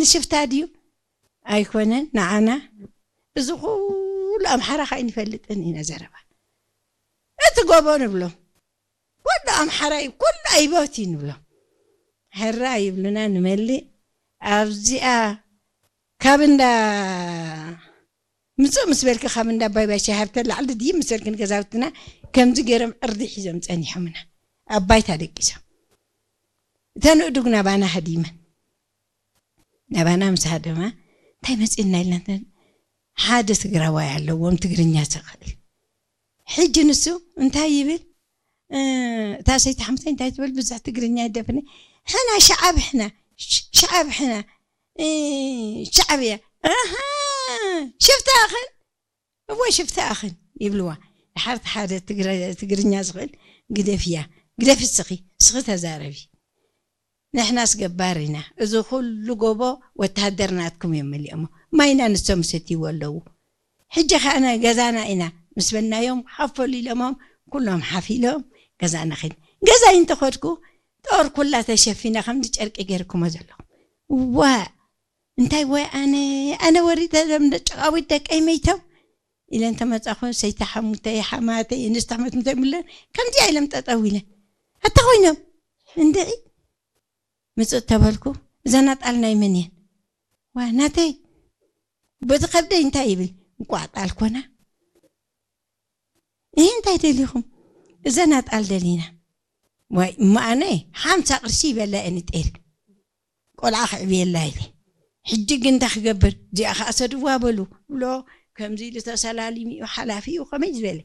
ንሽፍታ ድዩ ኣይኮነን ንዓና? እዚ ኩሉ ኣምሓራ ከ ኣይንፈልጥን ኢና ዘረባ። እቲ ጎቦ ንብሎም ኩሉ ኣምሓራ እዩ፣ ኩሉ ኣይቦት እዩ ንብሎም። ሕራ ይብሉና ንመልእ ኣብዚኣ ካብ እንዳ ምጽእ ምስ በልኪ ካብ እንዳ ኣባይ ባሻ ሃብተ ላዕሊ ድይብ ምስ በልክን ገዛውትና ከምዚ ገይሮም ዕርዲ ሒዞም ጸኒሖምና። ኣባይታ ደቂሶም። እተን እዱግ ናባና ሃዲመን። ናባና ምስ ሃደማ እንታይ መጺእና ኢልና እንተ-፣ ሓደ ትግራዋይ ኣለዎም ትግርኛ ዝኽእል። ሕጂ ንሱ እንታይ ይብል? እ፣ እታ ሰይቲ ሓምሳይ እንታይ ትብል? ብዙሕ ትግርኛ ይደፍነ። ሕና ሸዓብ ሕና፣ ሽ-፣ ሸዓብ ሕና፣ እ፣ ሸዓብ እያ። ኣሃ፣ ሽፍታ ኣኽን? እወ፣ ሽፍታ ኣኽን ይብልዋ። ድሓር እቲ ሓደ ትግረ-፣ ትግርኛ ዝኽእል ግደፍያ፣ ግደፊ እስኺ፣ እስኺ ተዛረቢ። ንሕናስ ገባር ኢና። እዚ ኩሉ ጎቦ ወተሃደር ናትኩም እዮም መሊኦሞ። ማይና ንሶም ይሰትይዎ ኣለዉ። ሕጂ ኸኣ ነ-፣ ገዛና ኢና ምስ በልናዮም፣ ሓፍ በሉ ኢሎሞም፣ ኩሎም ሓፍ ኢሎም ገዛና ኸይድ-፣ ገዛይ እንተኸድኩ፣ ጦር ኩላ ተሸፊና ከምዚ ጨርቂ ገይርኩሞ ዘለኹም። ዋእ! እንታይ ወይ ኣነ፣ ኣነ ወሪደ ሎም ደ-፣ ጨቓዊት ደቀይ መይቶም ኢለን ተመጻኹ፣ ሰይቲ ሓሙተይ፣ ሓማተይ፣ እንስቲ ኣሕመት ምተይ ምለን፣ ከምዚኣ ኢሎም ጠጠው ኢለን። ኣታ ኮይኖም፣ እንድዒ፣ ምጽእ ተበልኩ፣ እዘን ኣጣል ናይ መን እየን? ዋ፣ ናተይ። በቲ ከብደይ እንታይ ይብል? እንቋዕ ጣል ኮና። እህ፣ እንታይ ደሊኹም? እዘን ኣጣል ደሊና። ዋይ፣ እሞ ኣነ ሓምሳ ቅርሺ ይበላ እየን ጤል። ቆልዓ ክዕብየላ ኢለ። ሕጂ ግን እንታይ ክገብር? እዚኣ ኸኣ ሰድዋ በሉ። ብሎ፣ ከምዚ ኢሉ ተሰላሊሙ እዩ፣ ሓላፊ እዩ፣ ከመይ ዝበለ።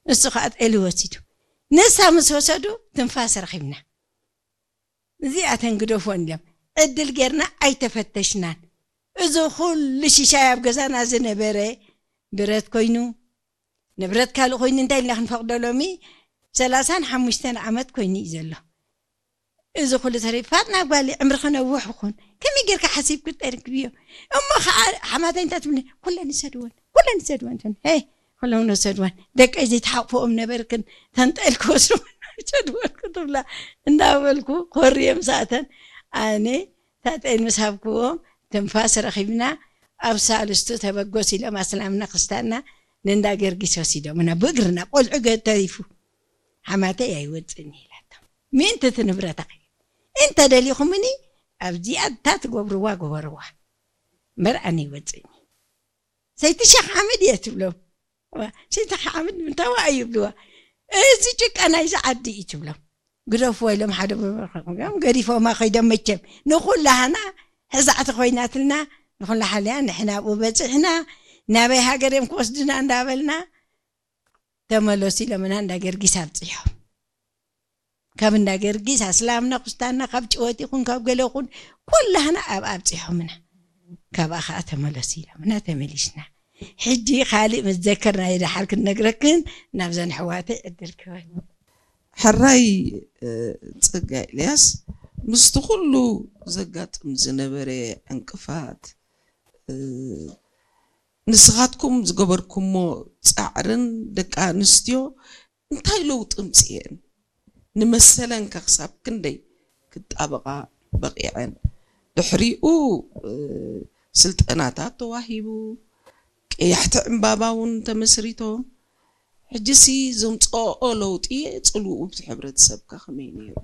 እሱ ኸኣ ጤል ወሲዱ። ንሳ ምስ ወሰዱ፣ ትንፋስ ረኺብና። እዚኣተን ግደፎን ኢሎም። ዕድል ጌርና ኣይተፈተሽናን። እዚ ኩሉ ሽሻይ ኣብ ገዛና ዝነበረ ብረት ኮይኑ፣ ንብረት ካልእ ኮይኑ እንታይ ኢልና ክንፈቕዶ ሎሚ? ሰላሳን ሓሙሽተን ዓመት ኮይኑ እዩ ዘሎ። እዚ ኩሉ ተሪፋት ናብ ጓሊ ዕምሪ ክነውሕ ይኹን። ከመይ ጌርካ ሓሲብኩ ተረክብዮ? እሞ ኸዓ ሓማተይ እንታይ ትብልኒ? ኩለን ይሰድወን፣ ኩለን ይሰድወን ትብልኒ። ሄይ፣ ኩሎም ነሰድወን። ደቀይ ዘይትሓቕፍኦም ነበርክን፣ ተንጠል ክወስድወን ይሰድወን ክትብላ እንዳበልኩ ኮርየ ምሳእተን። ኣነ ታጠይን ምስ ሃብክዎም ትንፋስ ረኺብና፣ ኣብ ሳልስቱ ተበገስ ኢሎም ኣስላምና ክስታና ንእንዳ ገርጊስ ወሲዶምና ብእግርና፣ ቆልዑ ገ-፣ ተሪፉ። ሓማተይ ኣይወፅእን ኢላቶም። ምእንቲ እቲ ንብረት ኣኺ-፣ እንተ ደሊኹምኒ ኣብዚኣ እታ ትገብርዋ ግበርዋ። እምበር ኣነ ይወፅእኒ። ሰይቲ ሸኽ ሓምድ እየ ትብሎም። ዋ፣ ሰይቲ ሓምድ ምንታዋ እዩ ይብልዋ። እዚ ጭቃ ናይዚ ዓዲ እዩ ትብሎም። ግደፍዎ ኢሎም ሓደ ብብርክም ገዲፎማ ከይዶም መቸም። ንኹላህና ሕዛዕቲ ኮይናትልና፣ ንኹላ ሓልያ ንሕና ኣብኡ በፂሕና፣ ናበይ ሃገር እዮም ክወስድና እንዳበልና፣ ተመለሱ ኢሎምና እንዳ ገርጊስ ኣብፂሖም። ካብ እንዳ ገርጊስ ኣስላምና ኩስታና፣ ካብ ጭወት ይኹን ካብ ገለ ይኹን፣ ኩላህና ኣብ ኣብፂሖምና። ካብኣ ኸዓ ተመለሱ ኢሎምና ተመሊስና። ሕጂ ካልእ መዘከር ናይ ደሓር ክንነግረክን ናብዘን ኣሕዋተይ ዕድል ክህበን። ሕራይ፣ እ፣ ጸጋ ኤልያስ፣ ምስቲ ኩሉ ዘጋጥም ዝነበረ ዕንቅፋት፣ እ፣ ንስኻትኩም ዝገበርኩሞ ጻዕርን ደቂ ኣንስትዮ እንታይ ለውጢ ኣምጽኤን? ንመሰለን ከ ክሳብ ክንደይ ክጣበቓ በቒዐን? ድሕሪኡ፣ እ፣ ስልጠናታት ተዋሂቡ፣ ቀያሕቲ ዕምባባ እውን ተመስሪቶም። ሕጂሲ ዘምጽኦኦ ለውጢ ጽልውኡ ብቲ ሕብረተሰብካ ከመይ ነይሩ?